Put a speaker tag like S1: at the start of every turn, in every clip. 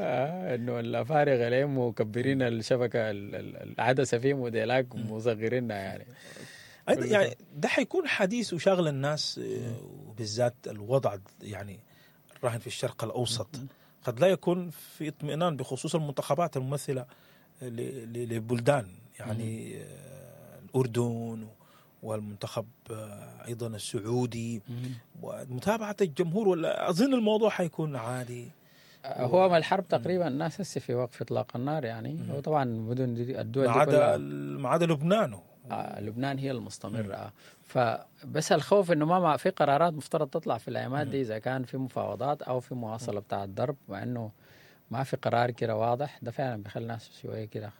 S1: انه الافارقة ليه مكبرين الشبكة العدسة فيهم وديلاك مصغرينها يعني.
S2: أيضا يعني ده حيكون حديث وشاغل الناس، وبالذات الوضع يعني الراهن في الشرق الاوسط. قد لا يكون في اطمئنان بخصوص المنتخبات الممثلة للبلدان، يعني الاردن والمنتخب ايضا السعودي، ومتابعة الجمهور، ولا اظن الموضوع حيكون عادي؟
S1: هو ما الحرب تقريبا الناس هسه في وقف اطلاق النار يعني. وطبعا المدن دي الدول
S2: ما
S1: دي
S2: عدا
S1: كلها
S2: ما عدا لبنان.
S1: لبنان هي المستمرة. فبس الخوف انه ما في قرارات مفترض تطلع في الايامات دي، اذا كان في مفاوضات او في مواصلة بتاع الضرب، مع انه ما في قرار كده واضح. ده فعلا بيخلي الناس شوية كده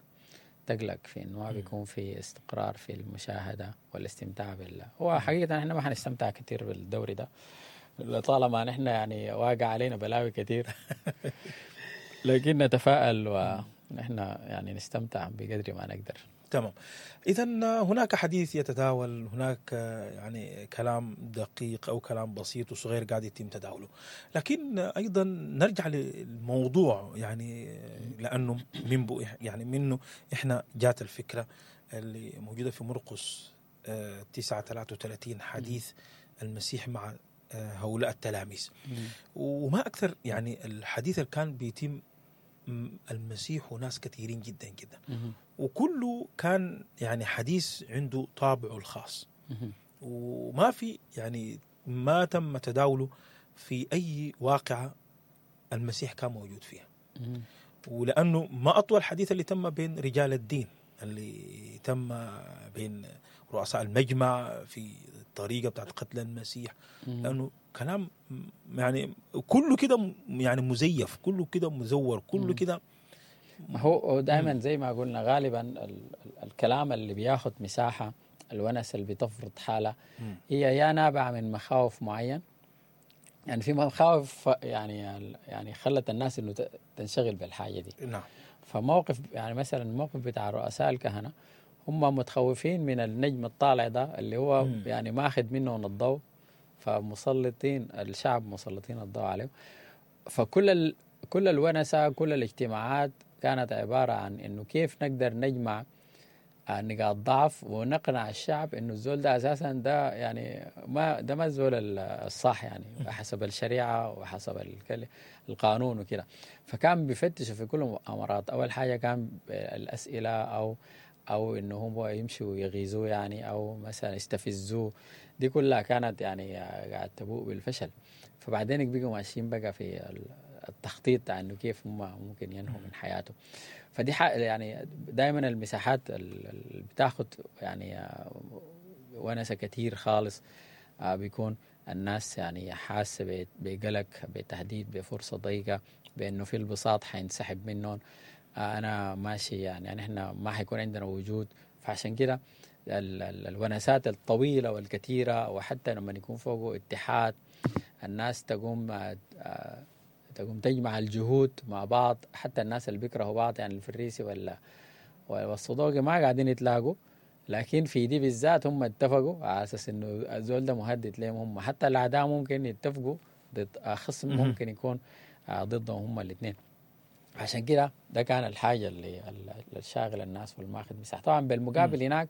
S1: تقلق في انه ما بيكون في استقرار في المشاهدة والاستمتاع بال هو حقيقة احنا ما حنستمتع كثير بالدوري ده طالما نحن يعني واقع علينا بلاوي كثير، لكن نتفائل ونحن يعني نستمتع بقدر ما نقدر.
S2: تمام. اذا هناك حديث يتداول، هناك يعني كلام دقيق او كلام بسيط وصغير قاعد يتم تداوله، لكن ايضا نرجع للموضوع يعني لانه من يعني منه احنا جات الفكرة اللي موجودة في مرقس 9:33، حديث المسيح مع هؤلاء التلاميذ. وما اكثر يعني الحديث اللي كان بيتم المسيح وناس كثيرين جدا جدا، وكله كان يعني حديث عنده طابعه الخاص، وما في يعني ما تم تداوله في أي واقعة المسيح كان موجود فيها. ولأنه ما أطول حديث اللي تم بين رجال الدين، اللي تم بين رؤساء المجمع في الطريقة بتاعت قتل المسيح، لأنه كلام يعني كله كده يعني مزيف، كله كده مزور، كله كده.
S1: هو دائما زي ما قلنا غالبا الكلام اللي بياخد مساحة، الونس اللي بتفرض حالة، هي يا نابعة من مخاوف معين، يعني في مخاوف يعني خلت الناس انه تنشغل بالحاجة دي.
S2: نعم.
S1: فموقف يعني مثلا الموقف بتاع رؤساء الكهنة، هم متخوفين من النجم الطالع ده اللي هو يعني ماخذ منهم الضوء، فمسلطين الشعب مسلطين الضوء عليه. فكل كل الونسة، كل الاجتماعات كانت عبارة عن انه كيف نقدر نجمع نقاط ضعف ونقنع الشعب انه الزول ده اساسا ده يعني ما ده ما الزول الصح يعني حسب الشريعة وحسب القانون وكده. فكان بيفتشوا في كل المؤامرات. اول حاجة كان الاسئلة او انه هم يمشوا يغيظوه يعني، او مثلا يستفزوه، دي كلها كانت يعني قاعد تبوء بالفشل. فبعدين بقوا ماشيين بقى في التخطيط انه كيف هم ممكن ينهوا من حياته. فدي يعني دائما المساحات اللي بتاخد يعني ونسة كتير خالص، بيكون الناس يعني حاسة بقلق، بتهديد، بفرصة ضيقة، بأنه في البساط حينسحب منهم، أنا ماشي يعني احنا ما حيكون عندنا وجود. فعشان كده الونسات الطويلة والكثيرة، وحتى لما يكون فوقه اتحاد، الناس تقوم تجمع الجهود مع بعض، حتى الناس اللي بيكرهوا بعض يعني الفريسي ولا والصدوقي ما قاعدين يتلاقوا، لكن في دي بالذات هم اتفقوا على اساس انه الزول ده مهدد لهم هم، حتى الاعداء ممكن يتفقوا ضد خصم ممكن يكون ضدهم هم الاثنين. عشان كده ده كان الحاجة اللي الشاغل الناس والماخذ مساحة. طبعا بالمقابل هناك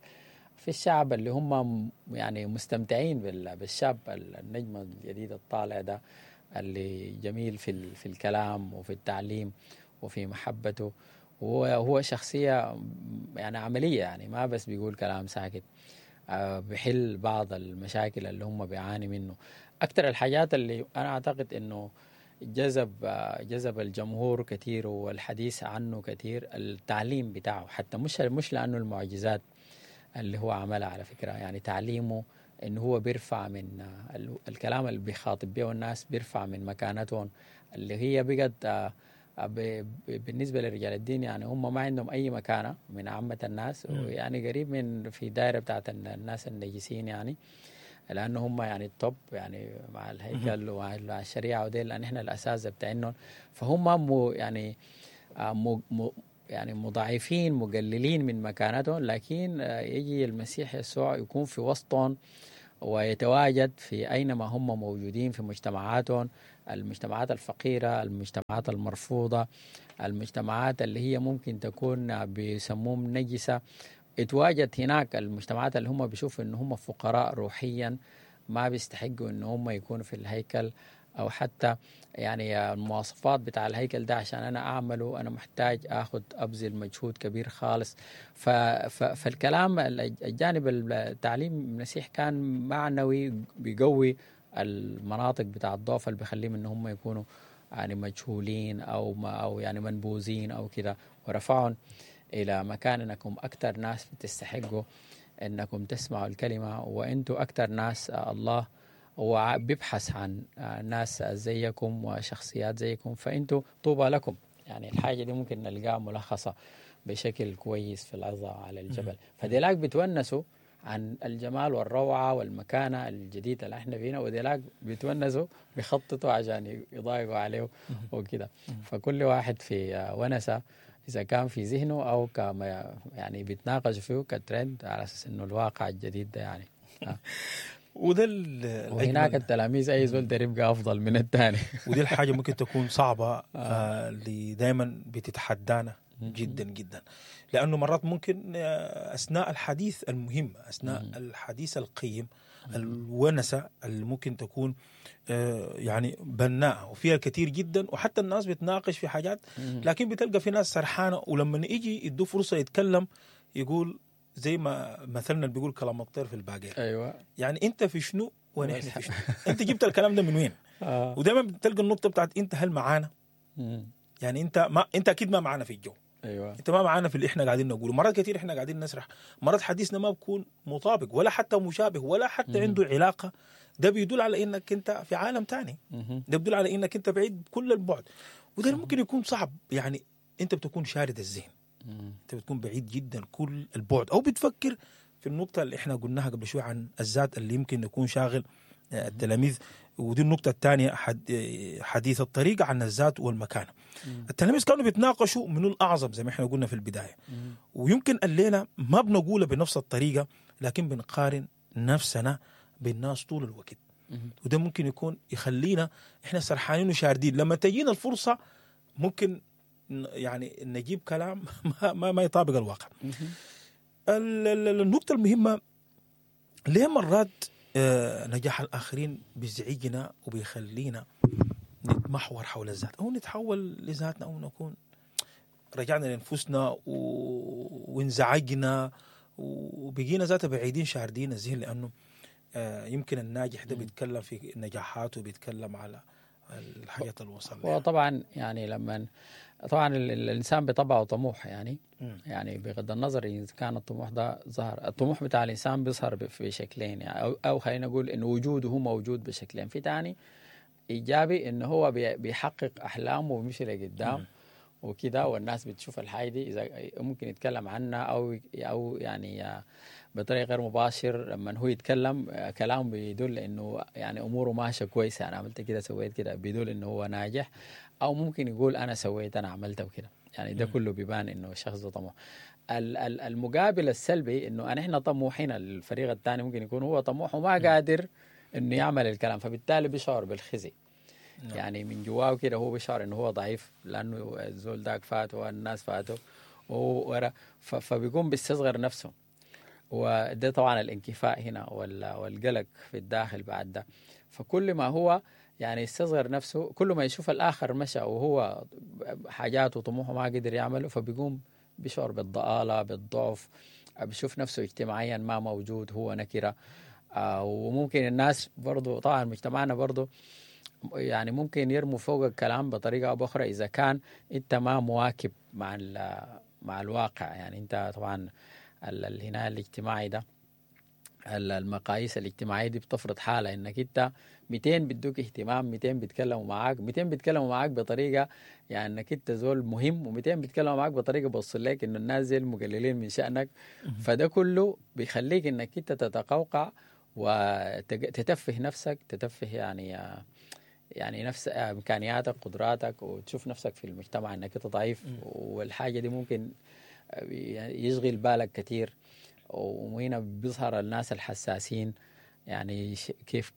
S1: في الشعب اللي هم يعني مستمتعين بالشاب النجم الجديد الطالع ده، اللي جميل في الكلام وفي التعليم وفي محبته، وهو شخصية يعني عملية، يعني ما بس بيقول كلام ساكت، بحل بعض المشاكل اللي هم بيعاني منه. أكثر الحاجات اللي أنا أعتقد إنه جذب الجمهور كثير والحديث عنه كثير التعليم بتاعه، حتى مش لأنه المعجزات اللي هو عملها على فكرة، يعني تعليمه إنه هو بيرفع من الكلام اللي بيخاطب به الناس، بيرفع من مكانتهم اللي هي بقت بالنسبة لرجال الدين، يعني هم ما عندهم أي مكانة من عامة الناس، يعني قريب من في دائرة بتاعت الناس النجسين يعني، لأنه هم يعني التوب يعني مع الهيكل ومع الشريعة وديل، لأن إحنا الأساتذة بتاعتهم، فهم يعني يعني مضاعفين مقللين من مكانتهم. لكن يجي المسيح يسوع يكون في وسطهم ويتواجد في أينما هم موجودين في مجتمعاتهم، المجتمعات الفقيرة، المجتمعات المرفوضة، المجتمعات اللي هي ممكن تكون بيسموهم نجسة. اتواجد هناك المجتمعات اللي هم بيشوفوا ان هم فقراء روحيا، ما بيستحقوا ان هم يكونوا في الهيكل، او حتى يعني المواصفات بتاع الهيكل ده عشان انا اعمله انا محتاج اخذ ابذل مجهود كبير خالص. فالكلام الجانب التعليم المسيح كان معنوي، بيقوي المناطق بتاع الضعف اللي بيخليهم ان هم يكونوا يعني مجهولين او ما او يعني منبوذين او كده، ورفعهم الى مكان انكم اكثر ناس بتستحقوا انكم تسمعوا الكلمة، وانتم اكثر ناس الله وبيبحث عن ناس زيكم وشخصيات زيكم، فانتم طوبى لكم. يعني الحاجة دي ممكن نلقاها ملخصه بشكل كويس في العظة على الجبل. فديلاك بتونسوا عن الجمال والروعه والمكانة الجديدة اللي احنا فينا، وديلاك بيتونسوا بيخططوا عشان يضايقوا عليه وكده. فكل واحد في ونسه اذا كان في ذهنه او كما يعني بيتناقش فيه كترند على اساس انه الواقع الجديد ده يعني.
S2: وده
S1: وهناك التلاميذ اي زول ده يبقى افضل من الثاني.
S2: ودي الحاجة ممكن تكون صعبة اللي دائما بتتحدانا جدا جدا، لانه مرات ممكن اثناء الحديث المهم، اثناء الحديث القيم، الونسه اللي ممكن تكون يعني بناءه وفيها الكثير جدا، وحتى الناس بتناقش في حاجات، لكن بتلقى في ناس سرحانه، ولما يجي يدوه فرصة يتكلم يقول زي ما مثلنا اللي بيقول كلام الطير في الباقير.
S1: ايوه،
S2: يعني انت في شنو ونحن في شنو؟ انت جبت الكلام ده من وين؟ ودايما بتلقى النقطة بتاعت انت هل معانا؟ يعني انت ما انت اكيد ما معانا في الجو.
S1: ايوه،
S2: انت ما معانا في اللي احنا قاعدين نقوله. مرات كثير احنا قاعدين نسرح، مرات حديثنا ما بيكون مطابق ولا حتى مشابه ولا حتى عنده علاقة. ده بيدل على انك انت في عالم ثاني، ده بيدل على انك انت بعيد كل البعد، وده ممكن يكون صعب. يعني انت بتكون شارد الذهن، انت بتكون بعيد جدا كل البعد، او بتفكر في النقطة اللي احنا قلناها قبل شوي عن الذات اللي يمكن يكون شاغل التلاميذ. ودي النقطة الثانية، حديث الطريقة عن الذات والمكانة. التلاميذ كانوا بيتناقشوا من الاعظم زي ما احنا قلنا في البداية، ويمكن الليلة ما بنقولها بنفس الطريقة، لكن بنقارن نفسنا بالناس طول الوقت، وده ممكن يكون يخلينا احنا سرحانين وشاردين. لما تجينا الفرصة ممكن يعني نجيب كلام ما يطابق الواقع. النقطة المهمة، ليه مرات نجاح الآخرين بيزعجنا وبيخلينا نتمحور حول الذات، أو نتحول لذاتنا، أو نكون رجعنا لأنفسنا وانزعجنا وبقينا ذاتها بعيدين شاردين الذهن، لأنه يمكن الناجح ده بيتكلم في نجاحاته وبيتكلم على الحاجات اللي وصل لها.
S1: وطبعا يعني لما طبعا الانسان بطبعه طموح، يعني يعني بغض النظر اذا كان الطموح ده ظهر، الطموح بتاع الانسان بيظهر في شكلين يعني، او خلينا نقول انه وجوده هو موجود بشكلين. في تاني ايجابي انه هو بيحقق احلامه وبيمشي لقدام وكده، والناس بتشوف الحاجة دي، اذا ممكن يتكلم عنها او يعني بطريقة غير مباشر. لما هو يتكلم كلام بيدل انه يعني اموره ماشية كويسة، انا عملت كده سويت كده، بيدل انه هو ناجح. او ممكن يقول انا سويت انا عملت وكده، يعني ده كله بيبان انه الشخص ده طموح. المقابل السلبي انه احنا طموحين، الفريق الثاني ممكن يكون هو طموح وما قادر انه يعمل الكلام، فبالتالي بيشعر بالخزي. يعني من جواه كده هو بيشعر انه هو ضعيف، لانه الزول داك فاته والناس فاته وهو ورا، فبيقوم بيستصغر نفسه. وده طبعا الانكفاء هنا والقلق في الداخل بعد ده. فكل ما هو يعني يستصغر نفسه، كل ما يشوف الآخر مشى وهو حاجاته وطموحه ما قدر يعمله، فبيقوم بيشعر بالضآلة، بالضعف، بيشوف نفسه اجتماعيا ما موجود، هو نكرة. وممكن الناس برضو طبعا مجتمعنا برضو يعني ممكن يرموا فوق الكلام بطريقة أو بأخرى إذا كان أنت ما مواكب مع الواقع. يعني أنت طبعا الهناء الاجتماعي ده، المقاييس الاجتماعية دي بتفرض حالة انك انت 200 بيدوك اهتمام، 200 بيتكلموا معاك، 200 بيتكلموا معاك بطريقة يعني انك انت زول مهم، و200 بيتكلموا معاك بطريقة بوصل لك انه الناس زي المقللين من شأنك. فده كله بيخليك انك انت تتقوقع وتتفه نفسك، تتفه يعني نفس امكانياتك، قدراتك، وتشوف نفسك في المجتمع انك انت ضعيف. والحاجة دي ممكن يشغل بالك كثير. وهنا بيظهر الناس الحساسين، يعني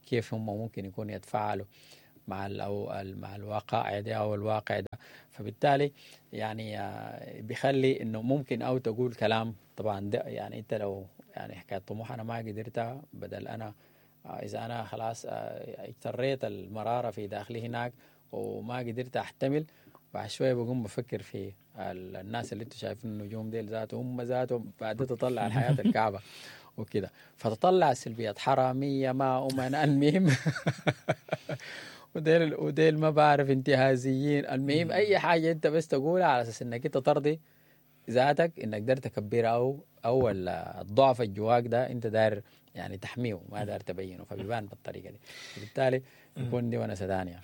S1: كيف هم ممكن يكون يتفاعلوا. مع ال او مع الوقائع دي او الواقع ده. فبالتالي يعني بيخلي انه ممكن او تقول كلام. طبعا ده يعني انت لو يعني حكاية طموح انا ما قدرتها، بدل انا اذا انا خلاص اجتريت المرارة في داخلي هناك وما قدرت احتمل، بعد شوية بقوم بفكر في الناس اللي انتم شايفين النجوم ديل ذاتهم، هم ذاتهم بعد تطلع الحياة الكعبة وكده، فتطلع السلبيات، حرامية ما امنا، المهم وديل ما بعرف انتهازيين، المهم اي حاجة انت بس تقولها على اساس انك انت ترضي ذاتك، انك داير تكبرها او الضعف الجواك ده انت داير يعني تحميه، ما داير تبينه، فبيبان بالطريقة دي، وبالتالي يكون دي ونسه ثانية.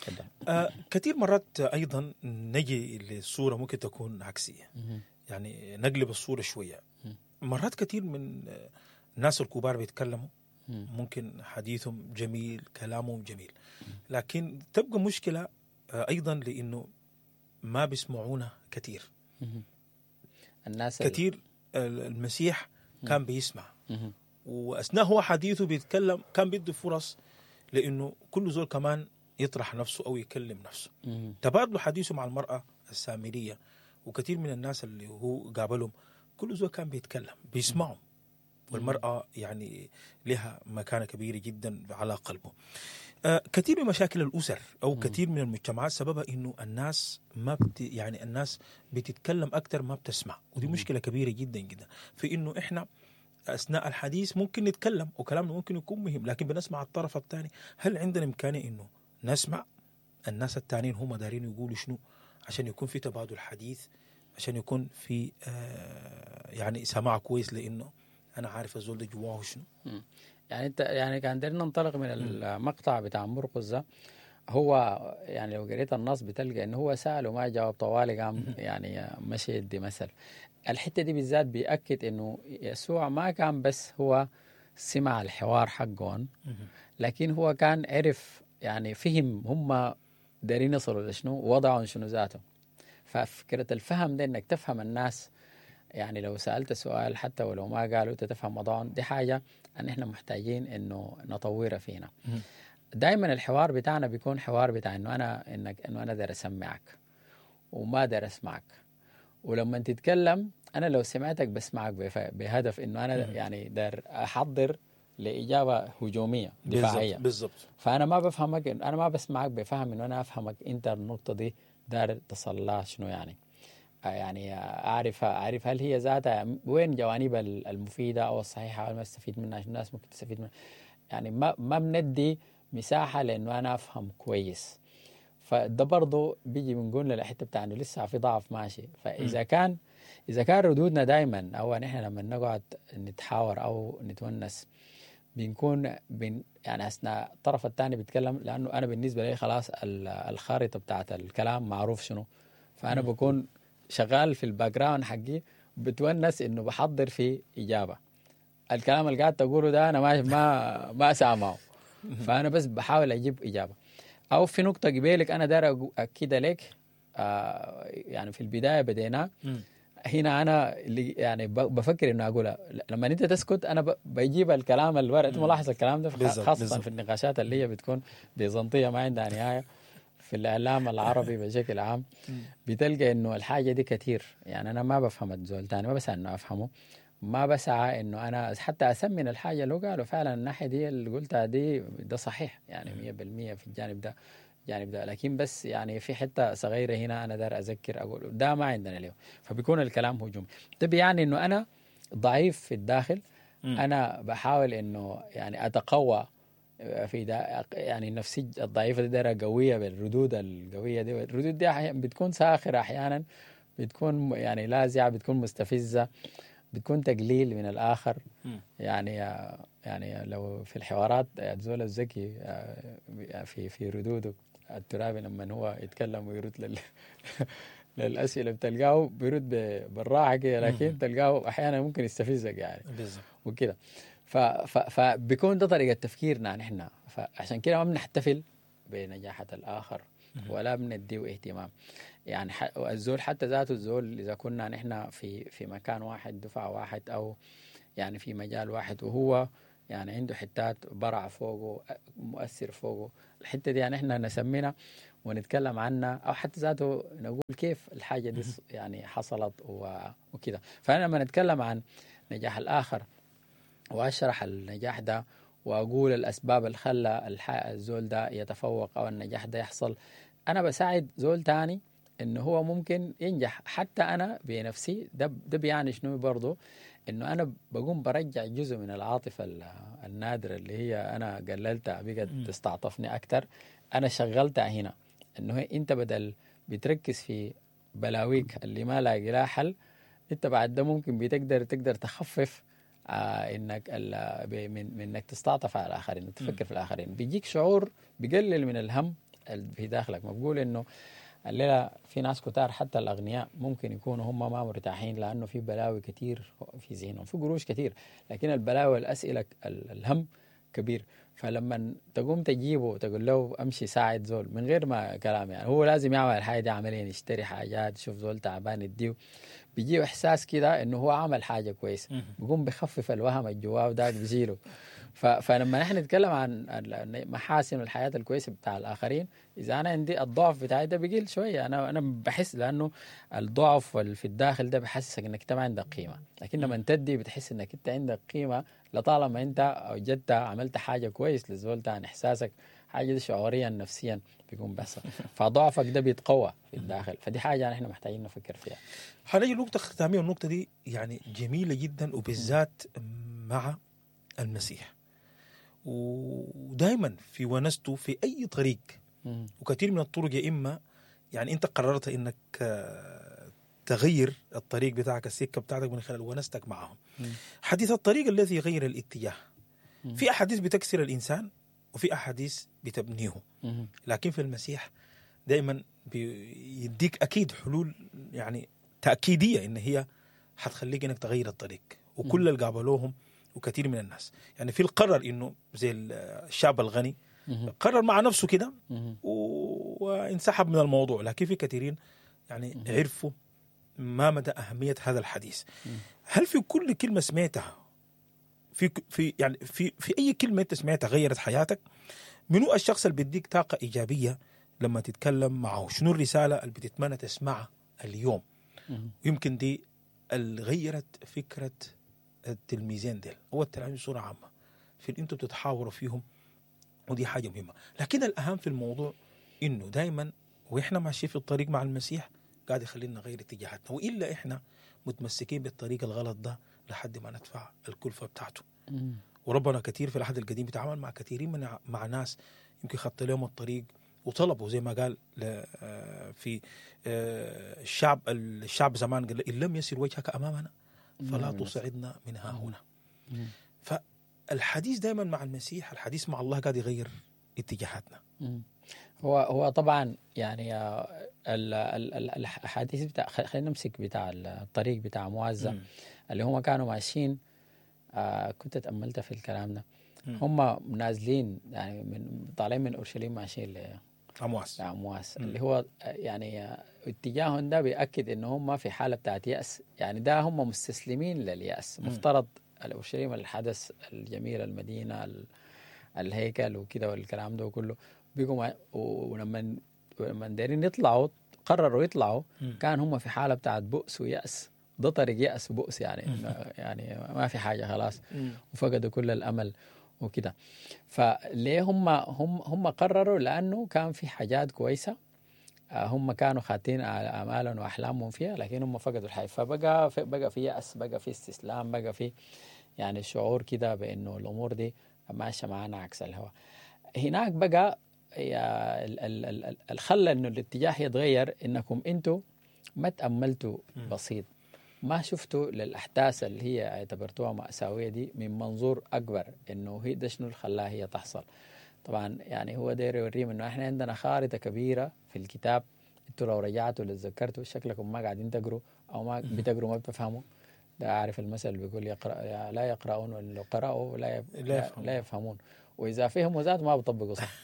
S2: كثير مرات ايضا نجي للصورة ممكن تكون عكسية، يعني نقلب الصورة شوية. مرات كثير من الناس الكبار بيتكلموا ممكن حديثهم جميل، كلامهم جميل، لكن تبقى مشكلة ايضا لانه ما بيسمعونا كثير.
S1: الناس
S2: كثير المسيح كان بيسمع، واثناء هو حديثه بيتكلم كان بيدي فرص لانه كل زول كمان يطرح نفسه او يكلم نفسه. تبادلوا حديثه مع المراة السامرية وكثير من الناس اللي هو قابلهم، كل زول كان بيتكلم بيسمعهم، والمراة يعني لها مكانه كبيرة جدا على قلبه. كثير من مشاكل الاسر او كثير من المجتمعات سببها انه الناس ما يعني الناس بتتكلم اكثر ما بتسمع، ودي مشكلة كبيرة جدا جدا في انه احنا اثناء الحديث ممكن نتكلم وكلامنا ممكن يكون مهم، لكن بنسمع الطرف الثاني. هل عندنا امكانية انه نسمع الناس الثانيين هم دارين يقولوا شنو عشان يكون في تبادل حديث، عشان يكون في يعني سماع كويس، لانه انا عارف الزول ده جواه شنو.
S1: يعني انت يعني كان دايرين ننطلق من المقطع بتاع مرقس ده، هو يعني لو قريت النص بتلقى انه هو سأل وما جاوب طوالي، قام يعني مشي يدي مثل. الحتة دي بالذات بيأكد انه يسوع ما كان بس هو سمع الحوار حقهم، لكن هو كان عرف يعني فهم هم دارين يصلوا لشنو، وضعهم شنو ذاته. ففكرة الفهم ده انك تفهم الناس، يعني لو سألت سؤال حتى ولو ما قالوا انت تفهم وضعهم، دي حاجة ان احنا محتاجين انه نطورها فينا. دائما الحوار بتاعنا بيكون حوار بتاع انه انا انه انا داير اسمعك وما داير اسمعك، ولما تتكلم انا لو سمعتك بسمعك بهدف انه انا يعني داير احضر لاجابة هجومية دفاعية.
S2: بالضبط.
S1: فانا ما بفهمك، انا ما بسمعك بفهم انه انا افهمك انت النقطة دي داير تصل لها شنو، يعني اعرف هل هي ذاتها وين جوانبها المفيدة او الصحيحة او ما استفيد منها، عشان الناس ممكن تستفيد منها. يعني ما بندي مساحة لانه انا افهم كويس. فده برضه بيجي بنقول للحتة بتاع انه لسه في ضعف ماشي. فاذا كان ردودنا دائما او نحن لما نقعد نتحاور او نتونس بنكون يعني اثناء الطرف الثاني بيتكلم، لانه انا بالنسبة لي خلاص الخارطة بتاعت الكلام معروف شنو، فانا بكون شغال في ال background حقي بتونس انه بحضر في اجابه. الكلام اللي قاعد تقوله ده انا ما سامعه، فانا بس بحاول اجيب اجابه. او في نقطة قبيلك انا داير اكيد لك، يعني في البداية بدينا هنا انا اللي يعني بفكر انه اقولها لما انت تسكت انا بجيب الكلام الورق. انت ملاحظ الكلام ده خاصة في النقاشات اللي هي بتكون بيزنطيه ما عندها نهاية في الاعلام العربي بشكل عام، بتلقى انه الحاجة دي كثير. يعني انا ما بفهم الزول تاني، ما بسعى انه افهمه، ما بسعى انه انا حتى اسمن الحاجة اللي قالوا فعلا الناحية دي اللي قلتها دي ده صحيح يعني 100% في الجانب ده الجانب ده، لكن بس يعني في حتة صغيرة هنا انا دار اذكر اقول ده ما عندنا اليوم، فبيكون الكلام هجومي. ده بيعني انه انا ضعيف في الداخل، انا بحاول انه يعني اتقوى في ده، يعني نفسي الضعيفة دي دايرة قوية بالردود القوية دي. الردود دي بتكون ساخرة احيانا، بتكون يعني لاذعه، بتكون مستفزة، بتكون تقليل من الاخر. يعني لو في الحوارات زول الذكي في ردوده الترابي لما هو يتكلم ويرد للاسئلة بتلقاه بيرد بالراحة كده، لكن تلقاه احيانا ممكن يستفزك يعني
S2: بالظبط
S1: وكده. فبيكون ده طريقه تفكيرنا نحن، فعشان كده ما بنحتفل بنجاحة الاخر ولا بنديه اهتمام. يعني الزول حتى ذاته الزول اذا كنا نحن في مكان واحد، دفعه واحد، او يعني في مجال واحد، وهو يعني عنده حتات برع فوقه، مؤثر فوقه. الحتة دي يعني احنا نسمينا ونتكلم عنها، او حتى ذاته نقول كيف الحاجة دي يعني حصلت وكده. فانا لما نتكلم عن نجاح الاخر واشرح النجاح ده واقول الاسباب اللي خلى الزول ده يتفوق او النجاح ده يحصل، انا بساعد زول تاني انه هو ممكن ينجح. حتى انا بنفسي ده بيعني شنو برضه؟ انه انا بقوم برجع جزء من العاطفة النادرة اللي هي انا قللتها بقت تستعطفني اكثر، انا شغلتها هنا. انه انت بدل بتركز في بلاويك اللي ما لاقي لها حل، انت بعد ده ممكن بتقدر تقدر تخفف انك من انك تستعطف على الاخرين وتفكر في الاخرين. بيجيك شعور بيقلل من الهم اللي في داخلك. ما بقول انه الليلة في ناس كتار حتى الاغنياء ممكن يكونوا هم ما مرتاحين لانه في بلاوي كتير في ذهنهم، في قروش كتير، لكن البلاوي والاسئلة الهم كبير. فلما تقوم تجيبه وتقول له امشي ساعد زول من غير ما كلام، يعني هو لازم يعمل الحاجة دي عمليا، يشتري حاجات، يشوف زول تعبان يديه، بيجيه احساس كده انه هو عمل حاجة كويسة، بيقوم بخفف الوهم الجواه وذاك بيزيله. فلما نحن نتكلم عن محاسن الحياة الكويسة بتاع الاخرين، اذا انا عندي الضعف بتاعي ده بيقل شوية، انا بحس، لانه الضعف في الداخل ده بحسسك انك انت ما عندك قيمة، لكن لما تدي بتحس انك انت عندك قيمة لطالما انت اوجدت عملت حاجة كويس للزول تاني، احساسك حاجة دي شعوريا نفسيا بيكون بس، فضعفك ده بيتقوى في الداخل. فدي حاجة نحن محتاجين نفكر فيها.
S2: حنيجي لنقطة ختامية، والنقطة دي يعني جميلة جدا، وبالذات مع المسيح، ودائما في ونسته في اي طريق، وكثير من الطرق يا اما يعني انت قررت انك تغير الطريق بتاعك، السكة بتاعتك من خلال ونستك معهم. حديث الطريق الذي يغير الاتجاه، في احاديث بتكسر الانسان وفي احاديث بتبنيه، لكن في المسيح دائما بيديك اكيد حلول يعني تاكيديه ان هي حتخليك انك تغير الطريق. وكل اللي قابلوهم وكثير من الناس يعني في القرر انه زي الشاب الغني قرر مع نفسه كده وانسحب من الموضوع، لكن في كثيرين يعني عرفوا ما مدى أهمية هذا الحديث. هل في كل كلمة سمعتها في في يعني في في أي كلمة أنت سمعتها غيرت حياتك؟ منو الشخص اللي بيديك طاقة إيجابية لما تتكلم معه؟ شنو الرسالة اللي بتتمنى تسمعها اليوم؟ يمكن دي اللي غيرت فكرة التلميذين ديل أو التلاميذ بصورة عامة في اللي أنتوا بتتحاوروا فيهم، ودي حاجة مهمة. لكن الأهم في الموضوع إنه دايما وإحنا ماشيين في الطريق مع المسيح قاعد يخلينا نغير اتجاهاتنا، وإلا إحنا متمسكين بالطريق الغلط ده لحد ما ندفع الكلفة بتاعته. وربنا كثير في العهد القديم بيتعامل مع كثيرين من مع ناس يمكن خط لهم الطريق وطلبوا، زي ما قال في الشعب زمان قال إن لم يسر وجهك أمامنا فلا تصعدنا من ها هنا. فالحديث دائما مع المسيح، الحديث مع الله قاعد يغير اتجاهاتنا.
S1: هو طبعا يعني الحديث بتاع، خلينا نمسك بتاع الطريق بتاع موازة اللي هم كانوا ماشيين. كنت تأملت في الكلام ده. هم نازلين يعني من طالعين من اورشليم ماشيين لعمواس، اللي هو يعني اتجاههم ده بيأكد ان هم في حالة بتاعت يأس، يعني ده هم مستسلمين لليأس. مفترض اورشليم الحدث الجميل، المدينة، الهيكل وكده والكلام ده كله، بيقوم ولما دايرين يطلعوا قرروا يطلعوا، كان هم في حالة بتاعت بؤس ويأس. ده طريق يأس وبؤس يعني يعني ما في حاجة خلاص، وفقدوا كل الأمل وكده. فليه هم قرروا؟ لأنه كان في حاجات كويسة هم كانوا خاتين آمالهم وأحلامهم فيها، لكن هم فقدوا الحياة. فبقى في يأس، بقى في استسلام، بقى في يعني شعور كده بأنه الأمور دي ماشية معانا عكس الهواء. هناك بقى الخلى إنه الاتجاه يتغير، إنكم أنتوا ما تأملتوا بسيط، ما شفتوا للأحداث اللي هي اعتبرتوها مأساوية دي من منظور أكبر، إنه هي ده شنو اللي خلاها هي تحصل. طبعا يعني هو داير يوريهم إنه إحنا عندنا خارطة كبيرة في الكتاب، أنتوا لو رجعتوا لتذكرتوا شكلكم ما قاعدين تقروا أو ما بتقروا ما بتفهموا. ده عارف المثل اللي بيقول يقرأ لا يقرؤون، ولو قرأوا لا يفهمون، وإذا فهموا ذات ما بيطبقوا صح.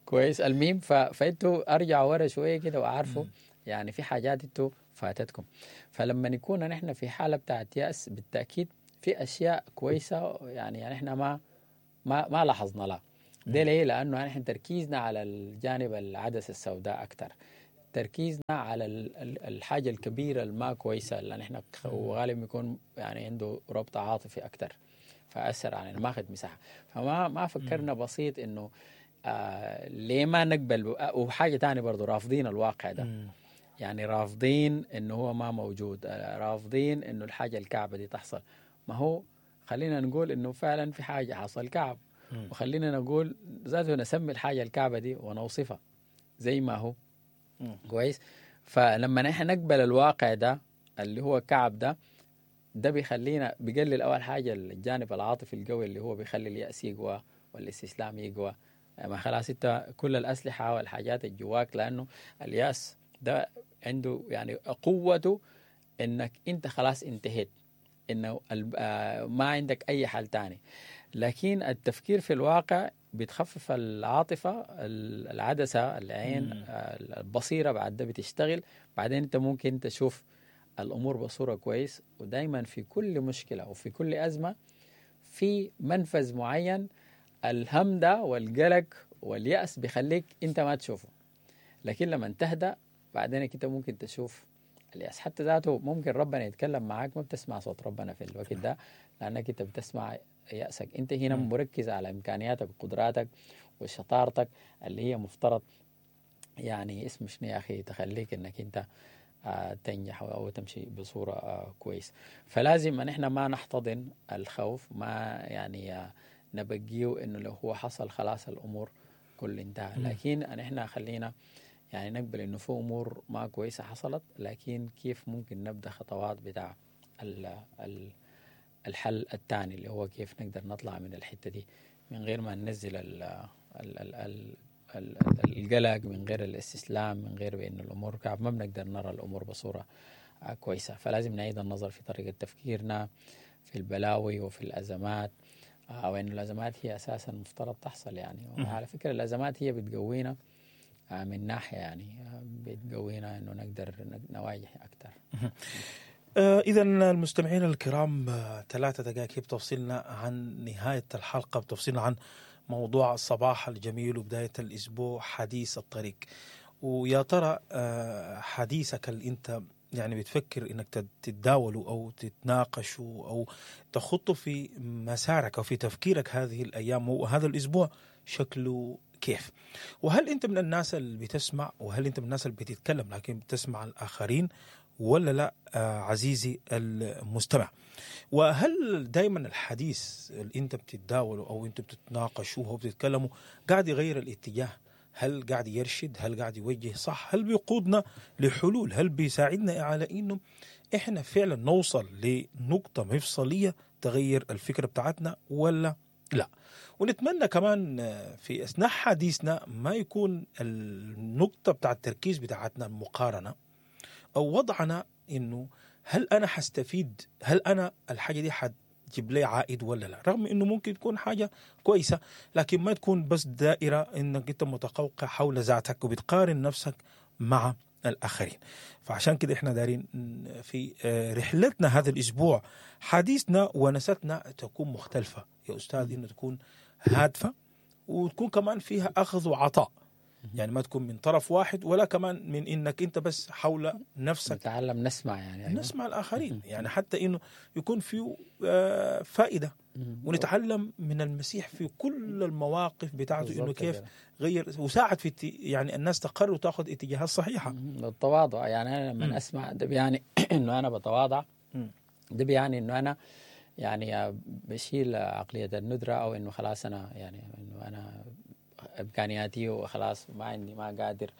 S1: كويس. الميم فأنتوا أرجعوا ورا شوية كده وأعرفوا يعني في حاجات انتوا فاتتكم. فلما نكون نحن في حالة بتاعت يأس، بالتأكيد في اشياء كويسة يعني نحن ما لاحظنا لها. ده ليه؟ لانه نحن تركيزنا على الجانب العدسة السوداء اكثر، تركيزنا على الحاجة الكبيرة الما كويسة اللي نحن وغالبا بيكون يعني عنده ربط عاطفي اكثر، فاثر علينا، ما اخذ مساحة. فما ما فكرنا بسيط انه ليه ما نقبل. وحاجه ثانية برضه، رافضين الواقع ده، يعني رافضين انه هو ما موجود، رافضين انه الحاجة الكعبة دي تحصل. ما هو خلينا نقول انه فعلا في حاجة حصل كعب، وخلينا نقول ذاته نسمي الحاجة الكعبة دي ونوصفها زي ما هو. كويس. فلما نحن نقبل الواقع ده اللي هو كعب ده، ده بيخلينا بيقلل اول حاجة الجانب العاطفي القوي اللي هو بيخلي اليأس يقوى والاستسلام يقوى. ما خلاص انت كل الاسلحة والحاجات اللي جواك، لانه اليأس ده عنده يعني قوته انك انت خلاص انتهيت، انه ما عندك اي حل تاني. لكن التفكير في الواقع بتخفف العاطفة، العدسة، العين، البصيرة بعد ده بتشتغل. بعدين انت ممكن تشوف الامور بصورة كويس. ودايما في كل مشكلة وفي كل ازمة في منفذ معين، الهم ده والقلق واليأس بيخليك انت ما تشوفه، لكن لما تهدأ بعدين انت ممكن تشوف اليأس. حتى ذاته ممكن ربنا يتكلم معاك، ما بتسمع صوت ربنا في الوقت ده لأنك انت بتسمع يأسك. انت هنا مركز على إمكانياتك وقدراتك وشطارتك اللي هي مفترض يعني اسم شنو يا أخي تخليك انك انت تنجح أو تمشي بصورة كويس. فلازم ان احنا ما نحتضن الخوف، ما يعني نبقيه انه لو هو حصل خلاص الأمور كل انتهى، لكن ان احنا خلينا يعني نقبل انه في امور ما كويسة حصلت، لكن كيف ممكن نبدا خطوات بتاع الحل الثاني اللي هو كيف نقدر نطلع من الحتة دي من غير ما ننزل ال ال ال ال ال القلق، من غير الاستسلام، من غير بان الامور كعب ما بنقدر نرى الامور بصورة كويسة. فلازم نعيد النظر في طريقه تفكيرنا في البلاوي وفي الازمات، وان الازمات هي اساسا مفترض تحصل يعني. وعلى فكرة الازمات هي بتقوينا من ناحية، يعني بتقوينا انه نقدر نواجه اكثر.
S2: إذا المستمعين الكرام، 3 دقائق بتفصلنا عن نهاية الحلقة، بتفصلنا عن موضوع الصباح الجميل وبداية الأسبوع، حديث الطريق. ويا ترى حديثك اللي أنت يعني بتفكر إنك تتداوله أو تتناقشه أو تخطه في مسارك أو في تفكيرك هذه الأيام وهذا الأسبوع شكله كيف؟ وهل أنت من الناس اللي بتسمع، وهل أنت من الناس اللي بتتكلم لكن بتسمع الآخرين ولا لا عزيزي المستمع؟ وهل دايما الحديث اللي انت بتتداوله او انت بتتناقشوه وبتتكلموا قاعد يغير الاتجاه؟ هل قاعد يرشد؟ هل قاعد يوجه صح؟ هل بيقودنا لحلول؟ هل بيساعدنا على انه احنا فعلا نوصل لنقطة مفصلية تغير الفكرة بتاعتنا ولا لا؟ ونتمنى كمان في اثناء حديثنا ما يكون النقطة بتاع التركيز بتاعتنا المقارنة أو وضعنا إنه هل أنا حستفيد، هل أنا الحاجة دي حتجيب لي عائد ولا لا، رغم إنه ممكن تكون حاجة كويسة، لكن ما تكون بس دائرة إنك أنت متقوقع حول ذاتك وبتقارن نفسك مع الآخرين. فعشان كده إحنا دارين في رحلتنا هذا الأسبوع حديثنا ونستنا تكون مختلفة يا أستاذ، إنه تكون هادفة وتكون كمان فيها أخذ وعطاء، يعني ما تكون من طرف واحد ولا كمان من انك انت بس حول نفسك.
S1: نتعلم نسمع يعني، أيوة.
S2: نسمع الاخرين، يعني حتى انه يكون فيه فائدة، ونتعلم من المسيح في كل المواقف بتاعته انه كيف غير وساعد في يعني الناس تقرر وتاخذ اتجاهات صحيحه.
S1: التواضع، يعني انا لما اسمع ده بيعني انه انا بتواضع، ده بيعني انه انا يعني بشيل عقلية الندرة، او انه خلاص انا يعني انه انا امكانياتي وخلاص ما عندي، ما قادر،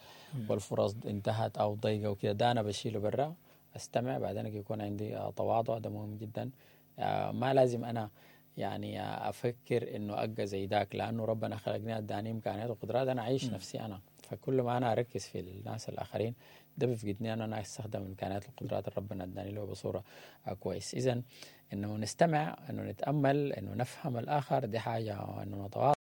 S1: والفرص انتهت او ضيقه وكده، ده انا بشيله برا، استمع، بعدين يكون عندي تواضع، ده مهم جدا. ما لازم انا يعني افكر انه ابقى زي ذاك، لانه ربنا خلقني اداني امكانيات وقدرات انا اعيش نفسي انا. فكل ما انا اركز في الناس الاخرين ده بيفقدني انا استخدم امكانيات القدرات اللي ربنا اداني له بصورة كويس. اذا انه نستمع، انه نتامل، انه نفهم الاخر، دي حاجة، انه نتواضع.